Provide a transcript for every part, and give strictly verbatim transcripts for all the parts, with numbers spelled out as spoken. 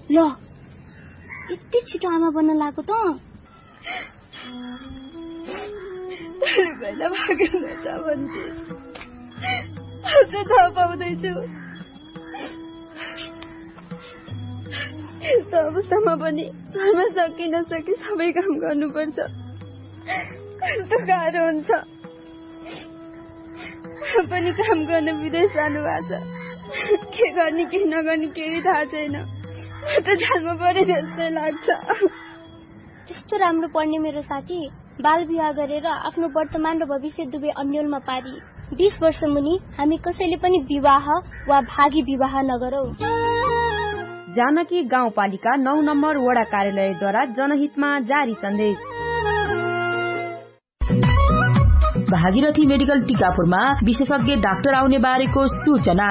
ल, यति छिटो आमा बन्न लागो त? भैला भागेन त भन्थे। अझ थाहा पाउँदैछु। यस्तो अवस्थामा पनि घरमा सकि नसकि सबै काम गर्नुपर्छ। कस्तो गाह्रो हुन्छ। पनि काम गर्न विदेश जानुभएको छ। के गर्ने के नगर्ने केही थाहा छैन। म त जानमा परे जस्तै लाग्छ। त्यस्तो राम्रो पढ्ने मेरो साथी बाल विवाह गरेर आफ्नो वर्तमान र भविष्य दुवै अन्यलमा पारी। बिस वर्ष मुनि हामी कसैले पनि विवाह वा भागी विवाह नगरौँ। जानकी गाउँपालिका नौ नम्बर वडा कार्यालयद्वारा जनहितमा जारी सन्देश। भागीरथी मेडिकल टिकापुरमा विशेषज्ञ डाक्टर आउने बारेको सूचना।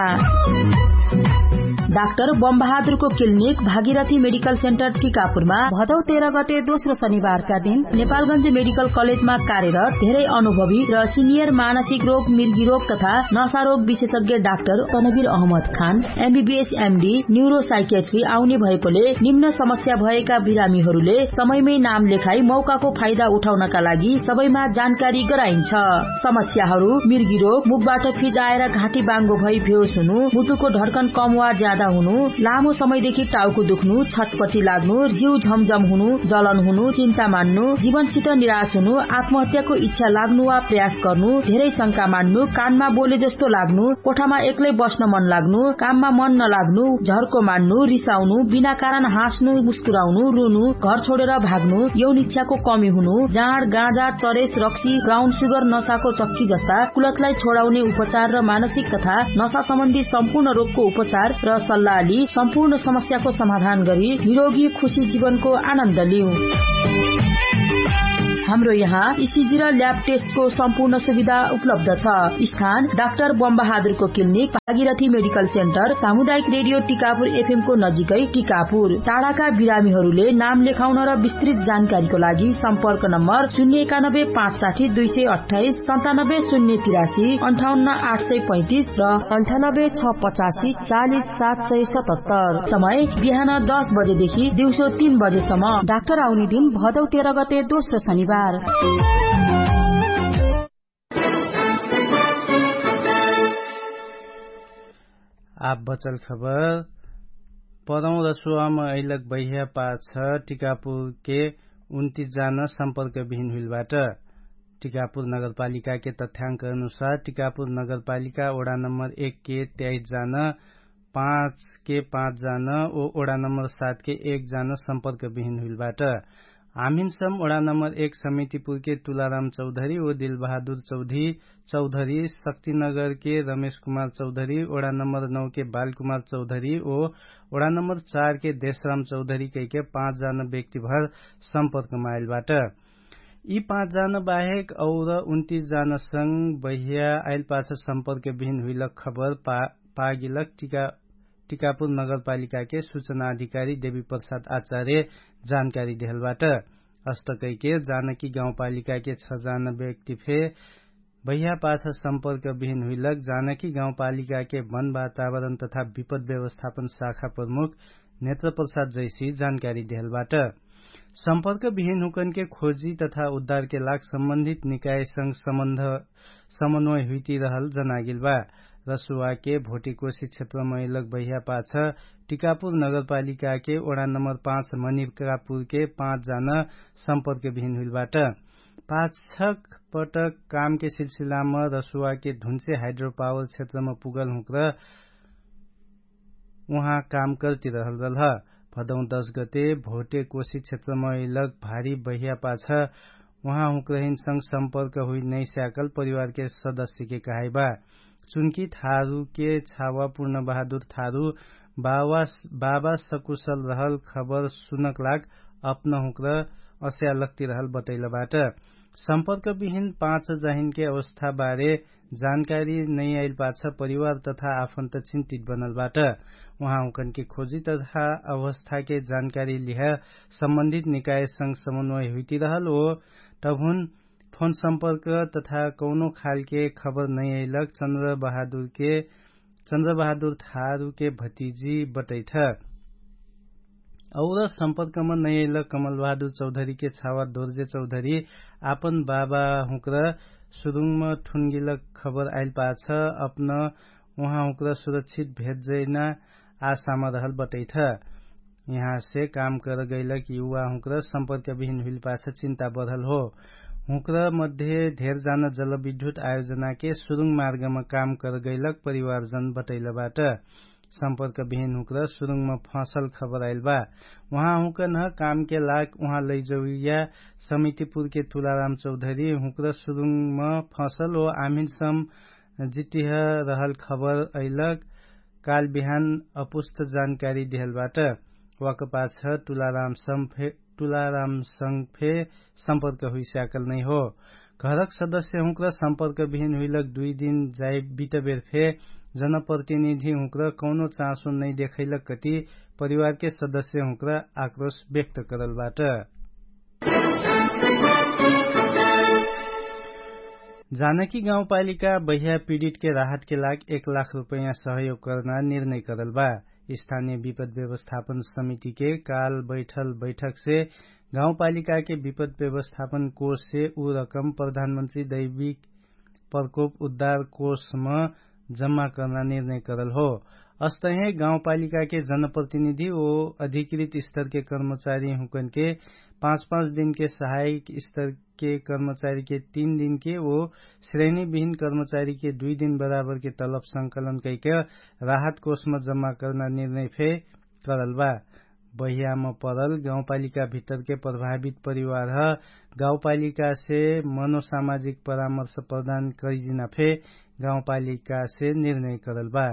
डाक्टर बमबहादुरको क्लिनिक भागीरथी मेडिकल सेन्टर टिकापुरमा भदौ तेह्र गते दोस्रो शनिबारका दिन नेपालगञ्ज मेडिकल कलेजमा कार्यरत धेरै अनुभवी र सिनियर मानसिक रोग, मिर्गी रोग तथा नशा रोग विशेषज्ञ डाक्टर तनवीर अहमद खान एमबीबीएस एमडी न्युरोसाइकेट्री आउने भएकोले निम्न समस्या भएका बिरामीहरूले समयमै नाम लेखाई मौकाको फाइदा उठाउनका लागि सबैमा जानकारी गराइन्छ। समस्याहरू मिर्गी रोग, मुखबाट फिजाएर घाँटी बाङ्गो भई बेहोस हुनु, मुटुको धड्कन कम वा ज्यादा हुनु, लामो समयदेखि टाउको दुख्नु, छटपटी लाग्नु, जिउ झमझम हुनु, जलन हुनु, चिन्ता मान्नु, जीवनसित निराश हुनु, आत्महत्याको इच्छा लाग्नु वा प्रयास गर्नु, धेरै शंका मान्नु, कानमा बोले जस्तो लाग्नु, कोठामा एक्लै बस्न मन लाग्नु, काममा मन नलाग्नु, झर्को मान्नु, रिसाउनु, बिना कारण हाँस्नु, मुस्कुराउनु, रुनु, घर छोडेर भाग्नु, यौन इच्छाको कमी हुनु, जाँड, गाँजा, चरेस, रक्सी, ब्राउन सुगर, नशाको चक्की जस्ता कुलतलाई छोडाउने उपचार र मानसिक तथा नशा सम्बन्धी सम्पूर्ण रोगको उपचार र सल्लाहली सम्पूर्ण समस्याको समाधान गरी निरोगी खुशी जीवनको आनन्द लिउ। हाम्रो यहाँ इसिजी र ल्याब टेस्टको सम्पूर्ण सुविधा उपलब्ध छ। स्थान डाक्टर बमबहादुरको क्लिनिक, भागीरथी मेडिकल सेन्टर, सामुदायिक रेडियो टिकापुर एफएमको नजिकै टिकापुर। टाढाका बिरामीहरूले नाम लेखाउन र विस्तृत जानकारीको लागि सम्पर्क नम्बर शून्य एकानब्बे पाँच साठी दुई सय अट्ठाइस, सन्तानब्बे शून्य तिरासी, अन्ठाउन्न आठ सय पैँतिस र अन्ठानब्बे छ पचासी चालिस सात सय सतहत्तर। समय बिहान दस बजेदेखि दिउँसो तीन बजेसम्म। डाक्टर आउने दिन भदौ तेह्र गते दोस्रो शनिबार। आप बचल खबर। पदौं रसुवाम अइलक बहिया पाछ टिकापुरके उन्तिस जान सम्पर्क बिहिन हुइलबाट। टिकापुर नगरपालिकाके तथ्याङ्क अनुसार टिकापुर नगरपालिका ओडा नम्बर एकके त्याइस जान, पाँचके पाँच जान ओ ओडा नम्बर सातके एक जान सम्पर्क बिहिन हुइलबाट। हामिनसम ओडा नम्बर एक समितिपुरके तुलाराम चौधरी ओ दिलबहादुर चौधरी, चौधरी शक्तिनगरके रमेश कुमार चौधरी, ओडा नम्बर नौके बालकुमार चौधरी ओ ओडा नम्बर चारके देशराम चौधरी कैके पाँच जान व्यक्तिभर सम्पर्कमा आइलबाट। यि पाँच जान बाहेक और उन्तिस जान संग बहिया आइलपाछ सम्पर्क बिहिन हुइलक खबर पागिलक टिकापुर नगरपालिकाके सुचनाधिकारी देवी प्रसाद आचार्य जानकारी देहलबाट। अष्टकैके जानकी गाउँपालिकाके छ जान व्यक्ति फे बहिया पाछ सम्पर्क बिहिन हुइलक जानकी गाउँपालिकाके वन वातावरण तथा विपद व्यवस्थापन शाखा प्रमुख नेत्र प्रसाद जैसी जानकारी देहलबाट। सम्पर्क बिहिन हुकनके खोजी तथा उद्धारके लाग सम्बन्धित निकायसँग सम्बन्ध समन्वय हुइतिरहल जनागिलबा। रसुवाके भोटेकोशी क्षेत्रमैलक बहिया पाछ टिकापुर नगरपालिकाके ओडा नम्बर पाँच मनिकापुरके पाँच जान सम्पर्क बिहिन हुइलबाट। पाछक पटक कामके सिलसिलाम रसुवाके धुन्चे हाइड्रोपावर क्षेत्रम पुगल हुँक्र उहाँ काम कर्तिरहल रल्ह। भदौं दश गते भोटे कोशी क्षेत्रम इलक भारी बहिया पाछ उहाँ हुँक्रहिन संग सम्पर्क हुइ नैस्याकल परिवारके सदस्यके कहाइबा। चुनकी थारुके छावा पुर्ण बहादुर थारु बाबा सकुशल रहल खबर सुनक लाग अपनहुँक्र अस्यालक्ति रहल बटैलबाट। सम्पर्क बिहिन पाँच जाहिनके अवस्थाबारे जानकारी नैआइल पाछ परिवार तथा आफन्त चिन्तित बनलबाट। उहाँहुँकनके खोजी तथा अवस्थाके जानकारी लिह सम्बन्धित निकायसँग समन्वय हुइतिरहल ओ तभुन फोन सम्पर्क तथा कौनो खालके खबर नैअइलक चन्द्रबहादुरके चन्द्रबहादुर थारुके भतिजी बटैठ। और सम्पर्कमा नैयैलक कमलबहादुर चौधरीके छावा दोर्जे चौधरी आपन बाबा हुँक्र सुरुङमा ठुनगिलक खबर आइल पाछ अपन उहाँ हुँक्र सुरक्षित भेट जैना आशामा रहल बटैठ। यहाँसे काम करगैलक युवा हुँक्र सम्पर्कविहिन हुइल पाछ चिन्ता बढल हो। हुँक्र मध्ये धेर जान जलविद्युत आयोजनाके सुरुङ मार्गमा काम करगैलक परिवारजन बटैलबाट। सम्पर्कविहिन हुँक्र सुरुङमा फँसल खबर आइल बा। उहाँ हुँकन्ह कामके लाग उहाँ लैजौरिया समितिपुरके तुलाराम चौधरी हुँक्र सुरुङमा फँसल ओ आमिनसम जिटिह रहल खबर अइलक। काल बिहान अपुस्त जानकारी देहलबाट। वाकपाछ तुलाराम संग फे सम्पर्क हुइस्याकल नै हो। घरक सदस्यहुँक्र सम्पर्कविहिन हुइलक दुइ दिन जाइ बिटबेर फे जनप्रतिनिधिहुँक्र कौनो चाँसो नै देखैलक कति परिवारके सदस्यहुँक्र आक्रोश व्यक्त करलबाट। जानकी गाउँपालिका बह्या पीडितके राहतके लाग एक लाख रुपैयाँ सहयोग कर्ना निर्णय करलबा। स्थानीय विपद व्यवस्थापन समितिके काल बैठल बैठकसे गाउँपालिकाके विपद व्यवस्थापन कोषसे उ रकम प्रधानमन्त्री दैविक प्रकोप उद्धार कोषम जम्मा कर्ना निर्णय करल हो। अस्तहे गाउँपालिकाके जनप्रतिनिधि ओ अधिकृत स्तरके कर्मचारी हुँकनके पाँच पाँच दिनके सहायक स्तरके कर्मचारीके तीन दिनके ओ श्रेणीविहिन कर्मचारीके दुइ दिन बराबरके तलब संकलन कैके राहत कोषम जम्मा कर्ना निर्णय फे करल बा। बहियाम परल गाउँपालिका भित्तरके प्रभावित परिवारह गाउँपालिकासे मनोसामाजिक परामर्श प्रदान करिजिना फे गाउँपालिकासे निर्णय करल बा।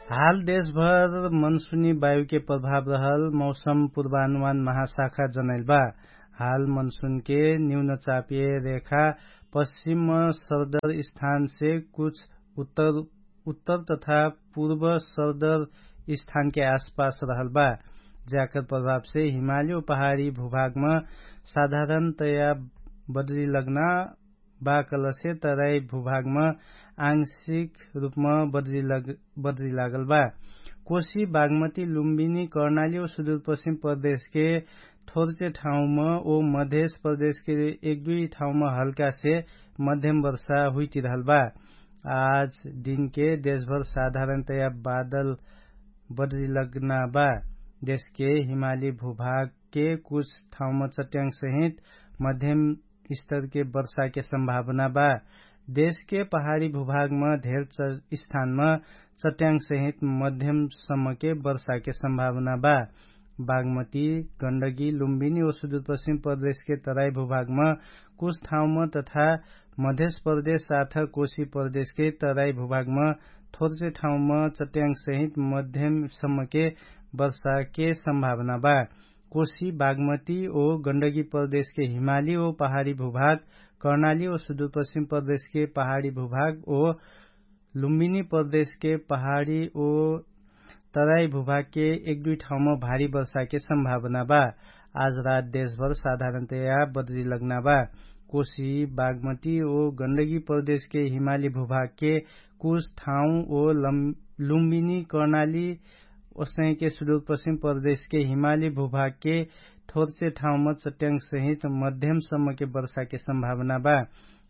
हाल देशभर मनसुनी वायुके प्रभाव रहल मौसम पुर्वानुमान महाशाखा जनैल बा। हाल मनसुनके न्यूनचापिय रेखा पश्चिम सरदर स्थानसे कुछ उत्तर उत्तर तथा पूर्व सरदर स्थानके आसपास रहल बा। ज्याकर प्रभावसे हिमाली ओ पहाडी भूभागम साधारणतया बद्री लग्ना बा कलसे तराई भूभागम आंशिक रूपम बद्री लागल बा। कोशी बागमती लुम्बिनी कर्णाली ओ सुदूरपश्चिम प्रदेशके थोर्चे ठाउँम ओ मधेश प्रदेशके एक दुइ ठाउँम हल्कासे मध्यम वर्षा हुइतिरहल बा। आज दिनके देशभर साधारणतया बादल बद्री लग्ना बा। देशके हिमाली भूभागके कुछ ठाउँम चट्याङ सहित मध्यम स्तरके वर्षाके सम्भावना बा। देशके पहाडी भूभागम धेर स्थानम चट्याङ सहित मध्यम सम्मके वर्षाके सम्भावना बा। बागमती गण्डगी लुम्बिनी ओ सुदूरपश्चिम प्रदेशके तराई भूभागम कुछ ठाउँम तथा मधेश प्रदेश साथ कोशी प्रदेशके तराई भूभागम थोर्चे ठाउँम चट्याङ सहित मध्यम सम्मके वर्षाके सम्भावना बा। कोशी बागमती ओ गण्डगी प्रदेशके हिमाली ओ पहाडी भूभाग कर्णाली ओ सुदूरपश्चिम प्रदेशके पहाडी भूभाग ओ लुम्बिनी प्रदेशके पहाडी ओ तराई भूभागके एक दुइ ठाउँम भारी वर्षाके सम्भावना बा। आज रात देशभर साधारणतया बद्री लग्ना बा। कोशी बागमती ओ गण्डगी प्रदेशके हिमाली भूभागके कुछ ठाउँ ओ लुम्बिनी कर्णाली ओसैके सुदूरपश्चिम प्रदेशके हिमाली भूभागके थोर्चे ठाउँम चट्याङ सहित मध्यम सम्मके वर्षाके सम्भावना बा।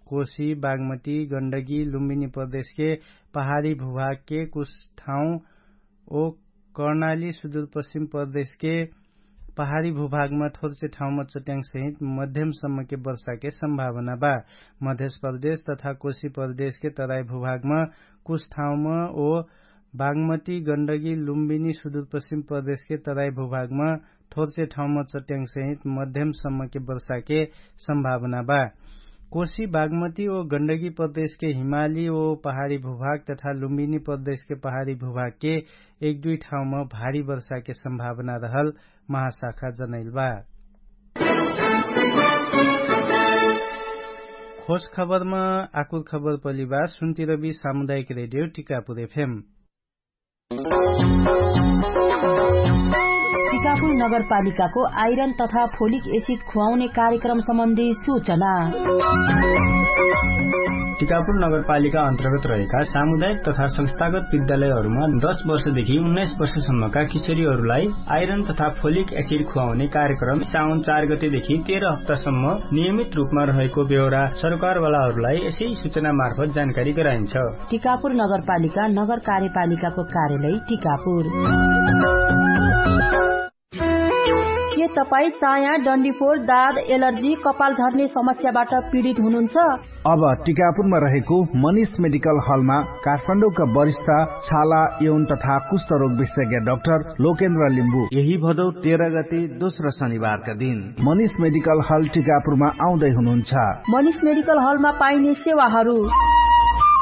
कोशी बागमती गण्डगी लुम्बिनी प्रदेशके पहाडी भूभागके कुछ ठाउँ ओ कर्णाली सुदूरपश्चिम प्रदेशके पहाडी भूभागमा थोर्चे ठाउँमा चट्याङ सहित मध्यम सम्मके वर्षाके सम्भावना बा। मधेश प्रदेश तथा कोशी प्रदेशके तराई भूभागमा कुछ ठाउँमा ओ बागमती गण्डगी लुम्बिनी सुदूरपश्चिम प्रदेशके तराई भूभागमा थोर्चे ठाउँमा चट्याङ सहित मध्यम सम्मके वर्षाके सम्भावना बा। कोशी बागमती ओ गण्डगी प्रदेशके हिमाली ओ पहाडी भूभाग तथा लुम्बिनी प्रदेशके पहाडी भूभागके एक दुइ ठाउँमा भारी वर्षाके सम्भावना रहल महाशाखा जनैल बा। खोज खबरमा आकुर खबर पलिबा सुन्तिरबी सामुदायिक रेडियो टिकापुर एफएम। टिकापुर नगरपालिकाको आइरन तथा फोलिक एसिड खुवाउने कार्यक्रम सम्बन्धी सूचना। टिकापुर नगरपालिका अन्तर्गत रहेका सामुदायिक तथा संस्थागत विद्यालयहरूमा दश वर्षदेखि उन्नाइस वर्षसम्मका किशोरीहरूलाई आइरन तथा फोलिक एसिड खुवाउने कार्यक्रम साउन चार गतेदेखि तेह्र हप्तासम्म नियमित रूपमा रहेको बेहोरा सरकारवालाहरूलाई यसै सूचनामार्फत जानकारी गराइन्छ। टिकापुर नगरपालिका नगर कार्यपालिकाको कार्यालय टिकापुर। के तपाईँ चाया डन्डीफोर दाद एलर्जी कपाल झर्ने समस्याबाट पीडित हुनुहुन्छ? अब टिकापुरमा रहेको मनिष मेडिकल हलमा काठमाडौँका वरिष्ठ छाला यौन तथा कुष्ठरोग विशेषज्ञ डाक्टर लोकेन्द्र लिम्बू यही भदौ तेह्र गते दोस्रो शनिबारका दिन मनिष मेडिकल हल टिकापुरमा आउँदै हुनुहुन्छ। मनिष मेडिकल हलमा पाइने सेवाहरू।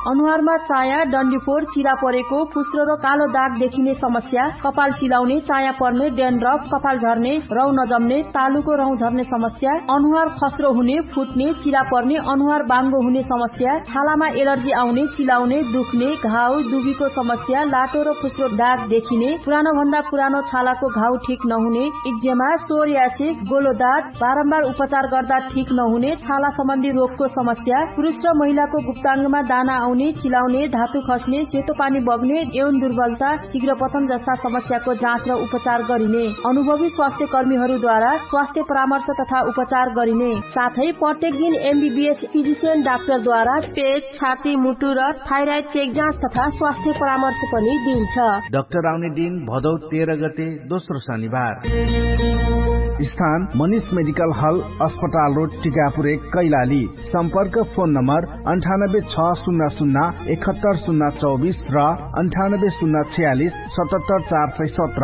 अनुहारमा चाया डन्डीफोर चिरा परेको फुस्रो र कालो दाग देखिने समस्या, कपाल चिलाउने, चाया पर्ने, डेन्ड्रफ, कपाल झर्ने, रौ नजम्ने, तालुको रौ झर्ने समस्या, अनुहार खस्रो हुने, फुट्ने, चिरा पर्ने, अनुहार बाङ्गो हुने समस्या, छालामा एलर्जी आउने, चिलाउने, दुख्ने, घाउ दुबीको समस्या, लाटो र फुस्रो दाग देखिने, पुरानो भन्दा पुरानो छालाको घाउ ठिक नहुने, इक्जेमा, सोर्यासे, गोलो दाग, बारम्बार उपचार गर्दा ठिक नहुने, छाला सम्बन्धी रोगको समस्या, पुरुष र महिलाको गुप्ताङ्गमा दाना आउने, चिलाउने, धातु खस्ने, सेतो पानी बग्ने, यौन दुर्बलता, शीघ्र पतन जस्ता समस्याको जाँच र उपचार गरिने, अनुभवी स्वास्थ्यकर्मीहरूद्वारा स्वास्थ्य परामर्श तथा उपचार गरिने, साथै प्रत्येक दिन एमबीबीएस फिजिसियन डाक्टरद्वारा पेट, छाती, मुटु र थाइराइड चेक जाँच तथा स्वास्थ्य परामर्श पनि दिइन्छ। डाक्टर आउने दिन भदौ तेह्र गते दोस्रो शनिबार। स्थान मनिष मेडिकल हल, अस्पताल रोड, टिकापुर एक, कैलाली। सम्पर्क फोन नम्बर अन्ठानब्बे छ शून्य शून्य एकहत्तर शून्य चौबिस र अन्ठानब्बे शून्य छयालिस सतहत्तर चार सय सत्र।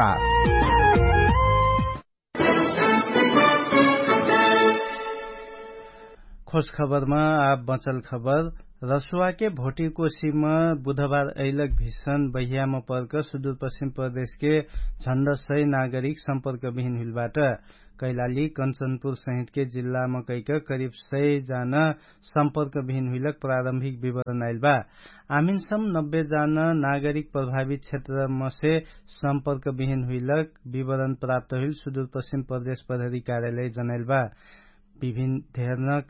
खोज खबरमा आब बँचल खबर। रसुवाके भोटिकोसीम बुधबार अइलक भिषण बहियाम पर्क सुदूरपश्चिम प्रदेशके झण्ड सय नागरिक सम्पर्क बिहिन हुइलबाट। कैलाली कञ्चनपुर सहितके जिल्लाम कैक करिब सय जान सम्पर्क बिहिन हुइलक प्रारम्भिक विवरण आइलबा। आमिनसम नब्बे जान नागरिक प्रभावित क्षेत्रमसे सम्पर्क बिहिन हुइलक विवरण प्राप्त हुइल सुदूरपश्चिम प्रदेश प्रहरी कार्यालय जनाइलबा। विभिन्न धेरनक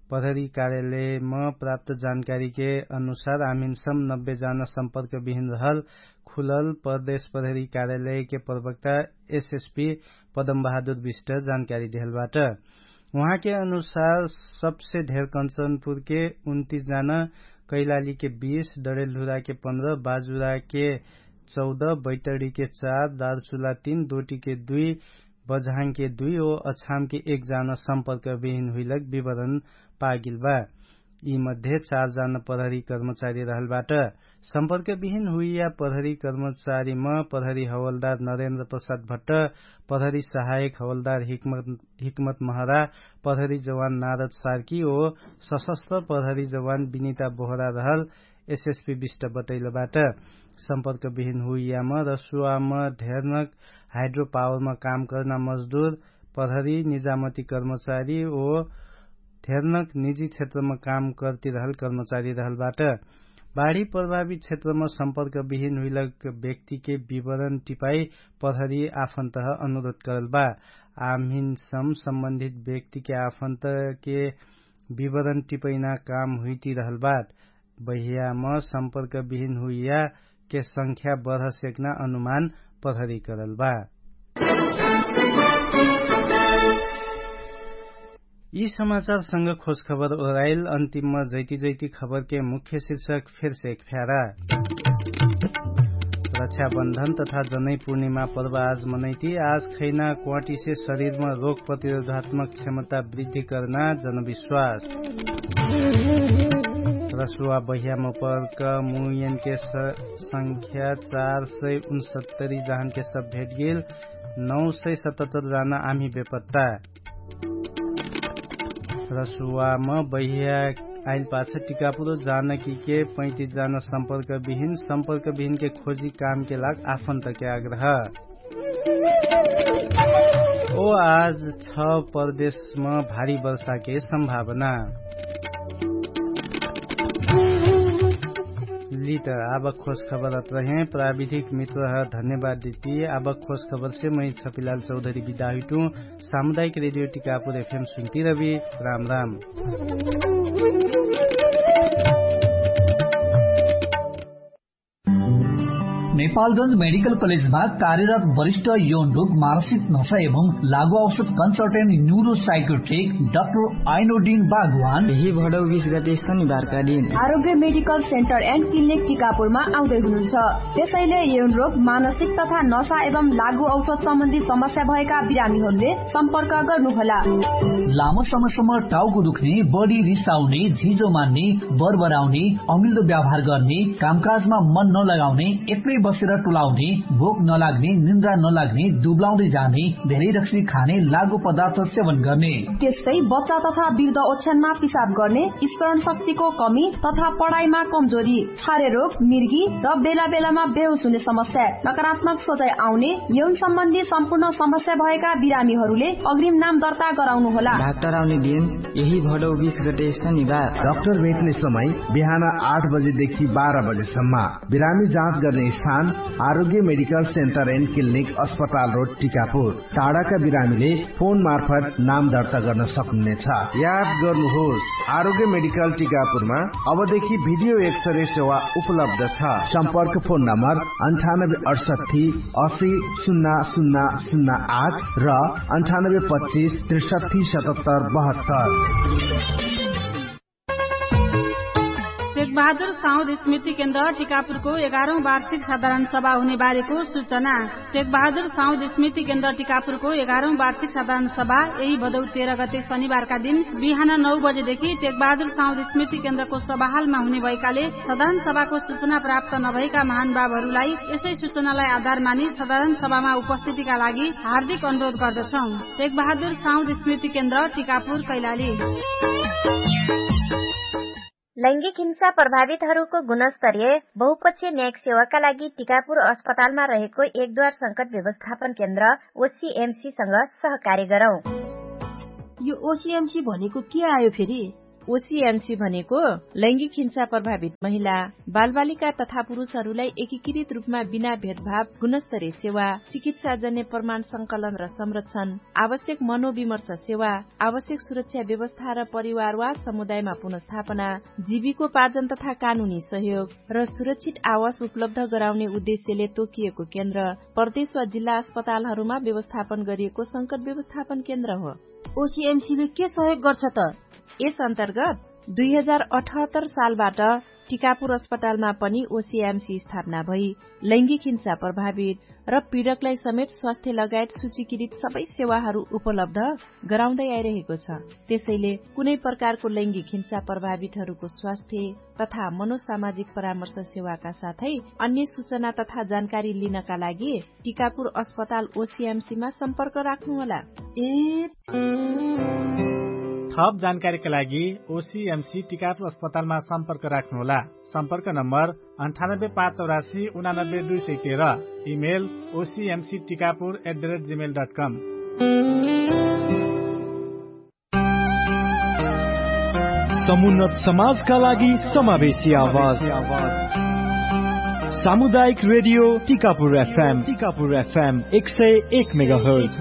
प्रहरी कार्यालयम प्राप्त जानकारीके अनुसार आमिनसम नब्बे जान सम्पर्क बिहिन रहल खुलल प्रदेश प्रहरी कार्यालयके प्रवक्ता एसएसपी पदम बहादुर विष्ट जानकारी देहलबाट। उहाँके अनुसार सबसे धेर कञ्चनपुरके उन्तिस जान, कैलालीके बीस, डडेलधुराके पन्ध्र, बाजुराके चौध, बैतडीके चार, दारचुला तीन, दोटीके दुई, बझाङके दुई ओ अछामके एक जान सम्पर्क बिहिन हुइलक विवरण पागिलबा। यी मध्ये चार जान प्रहरी कर्मचारी रहलबाट। सम्पर्क बिहिन हुइया प्रहरी कर्मचारीम प्रहरी हवलदार नरेन्द्र प्रसाद भट्ट, प्रहरी सहायक हवलदार हिक्मत महरा, प्रहरी जवान नारद सार्की ओ सशस्त्र प्रहरी जवान विनिता बोहरा रहल एसएसपी विष्ट बटैलबाट। सम्पर्क बिहिन हुइयाम रसुवाम धेरनक हाइड्रोपावरमा काम कर्ना मजदुर, प्रहरी निजामती कर्मचारी ओ धेरनक निजी क्षेत्रमा काम कर्तिरहल कर्मचारी रहलबाट। बाढी प्रभावित क्षेत्रमा सम्पर्क बिहिन हुइलक व्यक्तिके विवरण टिपाई प्रहरी आफन्तह अनुरोध करलबा। आम्हिन सम सम्बन्धित व्यक्तिके आफन्तके विवरण टिपैना काम हुइतिरहलबाट। बहियाम सम्पर्क बिहिन हुइया के संख्या बढ सेक्ना अनुमान प्रहरी करलबा। यी समाचारसँग खोजखबर ओराइल अन्तिममा जैती जैती खबरके मुख्य शीर्षक फेरसे एक फ्यारा। रक्षाबन्धन तथा जनै पूर्णिमा पर्व आज मनैती। आज खैना क्वाटिसे शरीरमा रोग प्रतिरोधात्मक क्षमता वृद्धि कर्ना जनविश्वास। रसुवा बहियाम पर्क मुयनके संख्या चार सय उनसत्तरी जहानके सब भेटगेल। नौ सय सतहत्तर जाना आम्ही बेपत्ता। रसुवाम बहिया आइल पाछ टिकापुरो जानकीके पैतिस जाना सम्पर्क बिहिन सम्पर्क बिहिनके खोजी कामके लाग आफन्तके आग्रह। ओ आज छ परदेशमा भारी वर्षाके सम्भावना। लित आबक खोज खबर अत्रहे प्राविधिक मित्रह धन्यवाद दिती। आबक खोज खबरसे मै छपिलाल चौधरी बिदा हुइटु। सामुदायिक रेडियो टिकापुर एफएम सुन्ती रवि। राम राम। नेपालगंज मेडिकल कलेजमा कार्यरत वरिष्ठ यौन रोग मानसिक नशा एवं लागु औषध कन्सल्टेन्ट न्युरो साइकोट्रिक डाक्टर आइनोडिन बागवान यही भडौ बिस गते शनिबारका दिन आरोग्य मेडिकल सेन्टर एन्ड क्लिनिक टिकापुरमा आउँदै हुनुहुन्छ। त्यसैले यौन रोग मानसिक तथा नशा एवं लागु औषध सम्बन्धी समस्या भएका बिरामीहरूले सम्पर्क गर्नुहोला। लामो समयसम्म टाउको दुख्ने, बढी रिसाउने, झिजो मान्ने, बरबराउने, अमिल्दो व्यवहार गर्ने, कामकाजमा मन नलगाउने, एक्लै बसेर टुलाउने, भोक नलाग्ने, निन्द्रा नलाग्ने, दुब्लाउँदै जाने, धेरै रक्सी खाने, लागु पदार्थ सेवन गर्ने, त्यस्तै बच्चा तथा वृद्ध ओछ्यानमा पिसाब गर्ने, स्मरण शक्तिको कमी तथा पढाइमा कमजोरी, छारे रोग, मिर्गी र बेला बेलामा बेहोस हुने समस्या, नकारात्मक सोचाइ आउने, यौन सम्बन्धी सम्पूर्ण समस्या भएका बिरामीहरूले अग्रिम नाम दर्ता गराउनु होला। डाक्टर आउने दिन यही भडौ बिस गते शनिबार। डाक्टर भेट्ने समय बिहान आठ बजेदेखि बाह्र बजेसम्म। बिरामी जाँच गर्ने स्थान आरोग्य मेडिकल सेन्टर एन्ड क्लिनिक, अस्पताल रोड, टिकापुर। टाढाका बिरामीले फोन मार्फत नाम दर्ता गर्न सक्नुहुनेछ। याद गर्नुहोस्, आरोग्य मेडिकल टिकापुरमा अबदेखि भिडियो एक्सरे सेवा उपलब्ध छ। सम्पर्क फोन नम्बर अन्ठानब्बे अठसट्ठी असी सुन्ना सुन्ना सुन्ना आठ र अन्ठानब्बे पच्चिस त्रिसट्ठी सतहत्तर बहत्तर। टेकबहादुर साउद स्मृति केन्द्र टिकापुरको एघारौँ वार्षिक साधारण सभा हुने बारेको सूचना। टेकबहादुर साउद स्मृति केन्द्र टिकापुरको एघारौँ वार्षिक साधारण सभा यही भदौ तेह्र गते शनिबारका दिन बिहान नौ बजेदेखि टेकबहादुर साउद स्मृति केन्द्रको सभाहालमा हुने भएकाले साधारण सभाको सूचना प्राप्त नभएका महानुभावहरूलाई यसै सूचनालाई आधार मानि साधारण सभामा उपस्थितिका लागि हार्दिक अनुरोध गर्दछौँ। टेकबहादुर साउद स्मृति केन्द्र टिकापुर कैलाली। लैङ्गिक हिंसा प्रभावितहरूको गुणस्तरीय बहुपक्षीय न्यायिक सेवाका लागि टिकापुर अस्पतालमा रहेको एक द्वार संकट व्यवस्थापन केन्द्र ओसिएमसीसँग सहकार्य गरौँ। यो ओसिएमसी भनेको के आयो फेरि? ओसिएमसी भनेको लैङ्गिक हिंसा प्रभावित महिला, बालबालिका तथा पुरुषहरूलाई एकीकृत रूपमा बिना भेदभाव गुणस्तरीय सेवा, चिकित्साजन्य प्रमाण संकलन र संरक्षण, आवश्यक मनोविमर्श सेवा, आवश्यक सुरक्षा व्यवस्था र परिवार वा समुदायमा पुनर्स्थापना, जीविकोपार्जन तथा कानुनी सहयोग र सुरक्षित आवास उपलब्ध गराउने उद्देश्यले तोकिएको केन्द्र प्रदेश वा जिल्ला अस्पतालहरूमा व्यवस्थापन गरिएको संकट व्यवस्थापन केन्द्र हो। ओसिएमसीले के सहयोग गर्छ त? यस अन्तर्गत दुई हजार अठहत्तर सालबाट टिकापुर अस्पतालमा पनि ओसिएमसी स्थापना भई लैङ्गिक हिंसा प्रभावित र पीडकलाई समेत स्वास्थ्य लगायत सूचीकृत सबै सेवाहरू उपलब्ध गराउँदै आइरहेको छ। त्यसैले कुनै प्रकारको लैङ्गिक हिंसा प्रभावितहरूको स्वास्थ्य तथा मनोसामाजिक परामर्श सेवाका साथै अन्य सूचना तथा जानकारी लिनका लागि टिकापुर अस्पताल ओसिएमसीमा सम्पर्क राख्नुहोला। ए थप जानकारीका लागि ओसिएमसी टिकापुर अस्पतालमा सम्पर्क राख्नुहोला। सम्पर्क नम्बर अन्ठानब्बे पाँच चौरासी उनानब्बे दुई सय तेह्र। Email O C M C Tikapur at the rate gmail dot com. समुन्नत समाजका लागि समावेशी आवाज। सामुदायिक radio Tikapur FM, Tikapur FM एक सय एक मेगाहर्ज।